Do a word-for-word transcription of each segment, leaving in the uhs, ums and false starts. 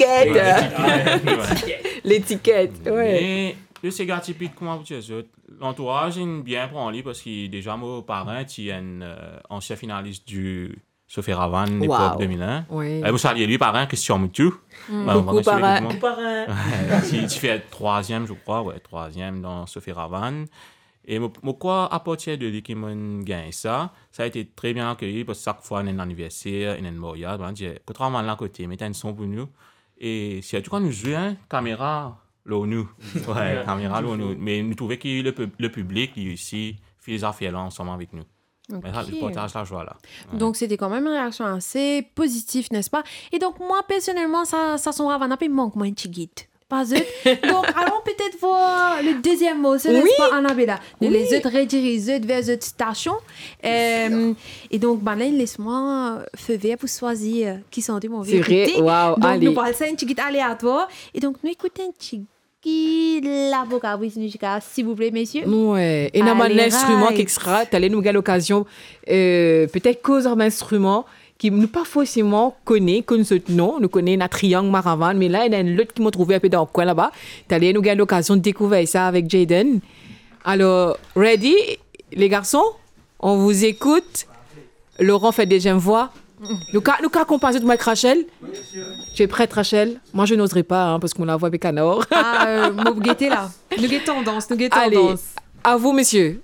letiket. Letiket, ouais. Me le sega tipik, kouma pou dir zot, lantouraz inn bien pran li, parski deza mo paren ti enn, euh, ansien finalis di Soferavan, lepok de mil enn. Wow. Oui. Eh, mo salie li, paren, Christian Moutou. Mm. Koukou, paren. Koukou, paren. Ouais, ti, ti fer trwaziem, je crois, ouais, trwaziem dan Soferavan. E mo, mo krwar apartir de li ki mo'nn gagn sa, sa a été très bien accueilli, parski sak fwa ena enn aniverser, ena enn maryaz, bann dir, "Kot Ravan la kote, met enn son pou nou." E sirtou kan nou zwe, hein, kamera lor nou. Ouais, kamera lor nou. Me nou trouve ki le pib-, le piblik, li osi, fer zafer la ansam avek nou. Ok. Me sa, nou partaz lazwa la. Ouais. Donc, c'était quand même une réaction assez positive, n'est-ce pas ? Et donc, moi, personnellement, sa, sa son Ravan la pe mank mwa enn tigit. Pa zot. Donc, allons peut-être voir le deuxième morceau, n'est-ce pas, Annabella ? Oui. Nou les zot redirige zot ver zot stasion. Euh, et donc, bann la les mwa feu vert pou swazir ki sante mo anvi ekoute. C'est vrai. Waouh, donc, nou pral sa enn tigit aléatoire. Et donc, nou ekout enn tigit ki lavoka, wi, nou jiska, silvouple, mesie. Ouais, ena bann instriman, et cetera. Talè nou gagn lokazion, euh, petet koz ar bann instriman ki nou pa forseman kone, konn zot non, nou kone ena triang maravan, me la, ena enn lot ki mo trouve inpe dan kwin laba. Talè nou gagn lokazion dekouver sa avek Jayden. Alors, ready, les garçons ? On vous écoute. Laurent fait deuxième voix. Nou ka, nou ka akonpagn zot, mwa ek Rachel. Tu es prête, Rachel ? Moi, je n'oserais pas, hein, parce que mon voix est canard. Ah, euh, mo gete la. Nou get tandans, nou get tandans. Allez, à vous, messieurs.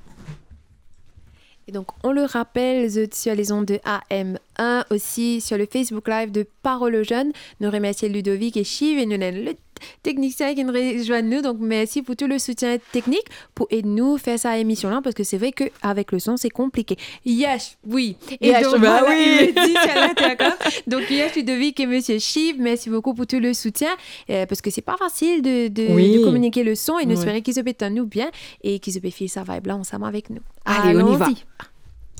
Et donc, on le rappelle, vous êtes sur les ondes de A M un, aussi sur le Facebook Live de Parole aux Jeunes. Nou remersie Ludovic e Chiv e nou ena le teknisien ki inn rezwenn nou. Donc, merci pour tout le soutien technique pour aider nous faire sa émission-là, parce que c'est vrai qu'avec le son, c'est compliqué. Yesh, oui. Et donc, ben voilà, oui, il me dit sur l'intercom. Donc, Yesh, Ludovic et Monsieur Chiv, merci beaucoup pour tout le soutien, euh, parce que c'est pas facile de, de, de communiquer le son, et nous espérons qu'ils se mettent à nous bien et qu'ils se font sa vibe là ensemble avec nous. Allez, on y va. Allons-y.